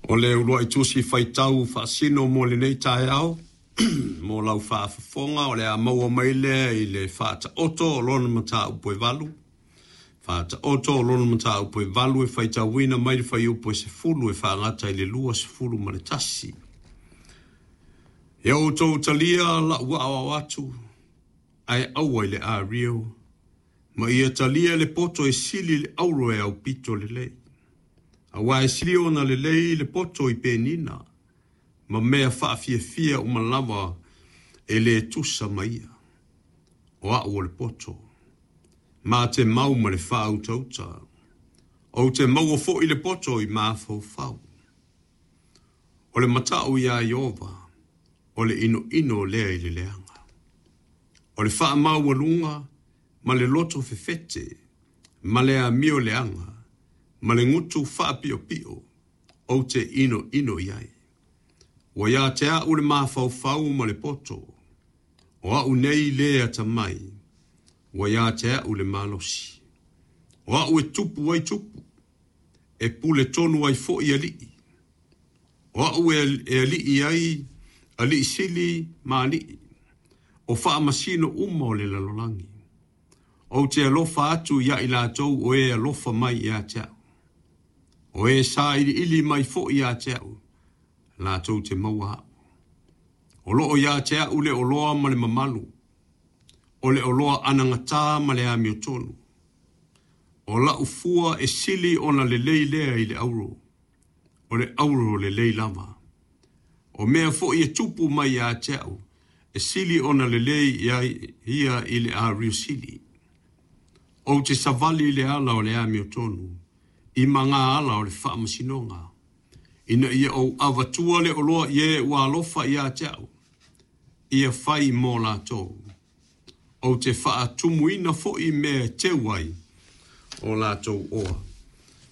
O le uluai tusi faitau faasino mo lenei taeao, mo lau faafofoga, o le a maua mai lea i le Faataoto o lona mataupu e 8. Faataoto o lona mataupu e 8 e faitauina mai le fuaiupu e 10 e faagata i le 21. Ia outou talia la'u aoao atu, ae aua i le ario, ma ia talia le poto e sili le auro e aupito lelei. Aua e sili ona lelei le poto i penina, ma mea faafiafia uma lava e le tusa ma ia. O a'u o le poto, ma te mau ma le faautauta. Ou te maua foi le poto i mafaufau. O le mata'u iā Ieova, o le inoino lea i le leaga. O le faamaualuga ma le loto fefete, ma le amio leaga, ma le gutu faapiopio, ou te inoino i ai. Ua ia te a'u le mafaufau ma le poto, o a'u nei le atamai, ua ia te a'u le malosi. O a'u e tupu ai tupu, e pule tonu ai foi alii. O a'u e alii ai alii sili ma alii, o faamasino uma o le lalolagi. Ou te alofa atu ia i latou o e alofa mai ia te a'u. O e sailiili mai foi ia te a'u, latou te maua a'u. O loo ia te a'u le oloa ma le mamalu, o le oloa anagatā ma le amiotonu. O la'u fua e sili ona lelei lea i le auro, o le auro lelei lava. O mea foi e tupu mai ia te a'u, e sili ona lelei ia i le ario sili. Ou te savali i le ala o le amiotonu, i magaala o le faamasinoga, ina ia ou avatua le oloa i e ua alofa ia te a'u, ia fai mo latou. Ou te faatumuina foi mea e teu ai o latou oa.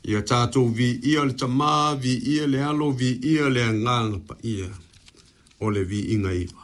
Ia tatou viia le Tamā, viia le Alo, viia le Agaga Paia, o le viiga iva.